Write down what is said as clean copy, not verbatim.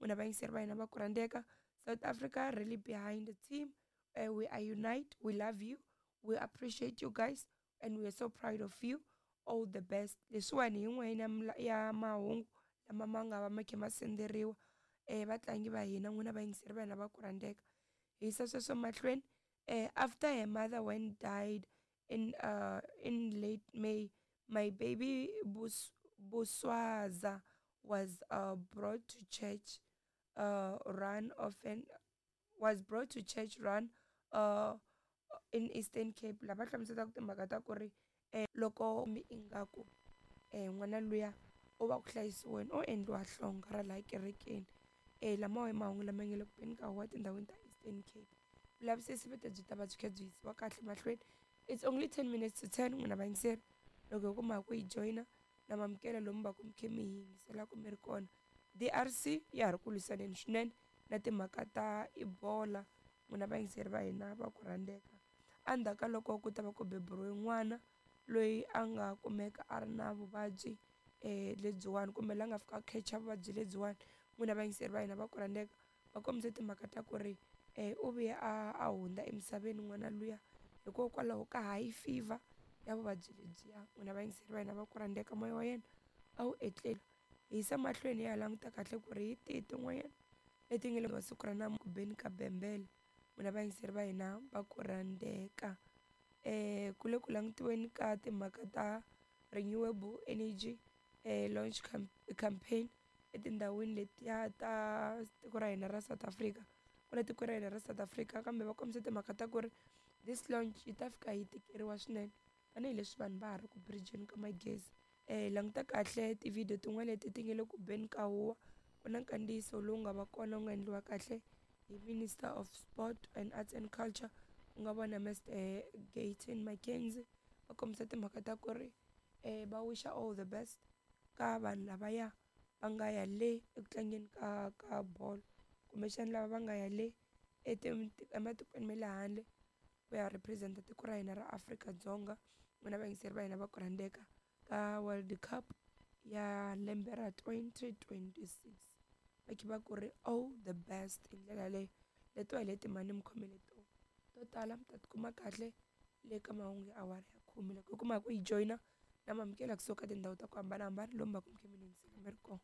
N'wina vayingiseri va hina va ku rhandzeka, South Africa really behind the team. We are unite, we love you, we appreciate you guys and we are so proud of you. All the best. Leswiwani hi yin'wana ya mahungu lama ma nga va ma kha ma sendzeriwa vatlangi va hina. N'wina vayingiseri va hina va ku rhandzeka, hi yisa sweswo mahlweni. After her mother when died in late May, my baby Buswaza was brought to church run often was brought to church run in Eastern Cape. Lava hlamuselaka timhaka ta ku ri loko mi ingaku n'wana luya u va ku hlayisiweni, o endliwa hlonga ra laha kerekeni. Lamawa i mahungu lama nga le ku beni ka huwa etindhawini ta Eastern Cape. Vulavisisi vete byi ta va byi kha byi yisiwa kahle mahlweni. It's only 10 minutes to 10. N'wina vayingiseri, loko hi kuma ku yi joyina na mamukela lomu va ku mi khe mi hi yingiselaka mi ri kona. DRC ya ha ri ku lwisaneni swinene na timhaka ta Ebola. N'wina vayingiseri va hina va ku rhandzeka, endzhaku ka loko ku ta va ku beburiwe n'wana loyi a nga kumeka a ri na vuvabyi lebyiwani, kumbe la nga fika a catch vuvabyi lebyiwani, n'wina vayingiseri va hina va ku rhandzeka, va kombise timhaka ta ku ri u vuye a hundza emisaveni n'wana luya hikokwalaho ka high fever ya vuvabyi lebyiya. N'wina vayingiseri va hina va ku rhandzeka, moya wa yena a wu etlela. Hi yisa mahlweni ya languta kahle ku ri hi tihi tin'wanyana leti nga le siku ra ku beni ka bembele. N'wina vayingiseri va hina va ku rhandzeka, ku le ku langutiweni ka timhaka ta renewable energy launch campaign etindhawini letiya ta tiko ra hina ra South Africa, ku tiko ra hina ra South Africa. Kambe va kombisa timhaka ta ku ri this launch yi ta fika yi tikeriwa swinene tanihileswi vanhu va ha ri ku bridge-ni ka magezi. Languta kahle tivhidiyo tin'wana leti ti nga le ku beni ka huwa. Ku na nkandziyiso lowu nga va kona, wu nga endliwa kahle hi Minister of Sport and Arts and Culture, ku nga vona Mr Gayton McKenzie. Va kombisa timhaka ta ku ri va wisha all the best ka vanhu lavaya va nga ya le eku tlangeni ka bolo, kumbexana lava va nga ya le ematikweni ma le handle ku ya represent tiko ra hina ra Afrika-Dzonga. N'wina vayingiseri va hina va ku rhandzeka, ka World Cup ya lembe ra 2026, va kha va ku ri all the best hi ndlela yaleyo. Letiwa hi leti mhani mi khomele to tala, mi ta tikuma kahle le ka mahungu ya awara ya 10. Loko hi kuma ku yi joyina na mamukela kusuka tindhawu ta ku hambanahambana lomu va ku mi kha mi yingisela mi ri kona.